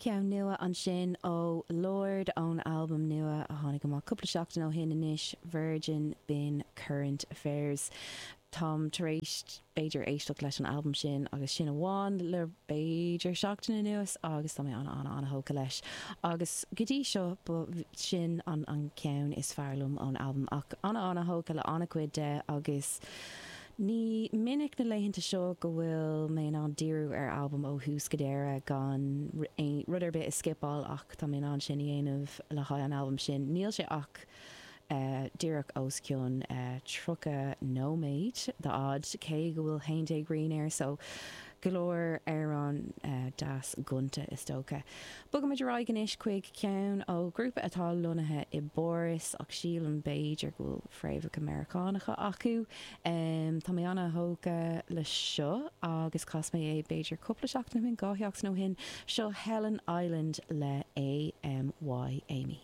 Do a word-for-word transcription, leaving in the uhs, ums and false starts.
Ceann nua ansin ó Lorde ón albam nua a tháinig amach cúpla seachtain ó shin anois Virgin Bin Current Affairs. Táim tar éis b'fhéidir éisteacht leis an albam sin agus sin amháin le b'fhéidir seachtain anuas agus tá mé an an an-thógtha leis. Agus go dtí seo sin an an ceann is fearr liom ón albam ach an an-thógtha le an-chuid de agus Ní minic na laethanta seo go bhfuil mé in ann díriú ar albam ó thús go deireadh gan rud ar bith a scipeáil ach tá mé in ann sin a dhéanamh le haghaidh an albam sin. Níl sé ach díreach os cionn tríocha nóiméad d'fhad cé go bhfuil haon déag rian air so go leor amhrán deas gonta is dócha. Bogaimid ar aghaidh anois chuig ceann ó ghrúpa atá lonnaithe i bPáras ach sílim b'fhéidir go bhfuil fréamhacha Meiriceánacha acu. Tá mé an-thógtha le seo agus chas mé é b'fhéidir cúpla seachtain ó shin, dhá sheachtain ó shin, seo Helen Island le AMY Amy.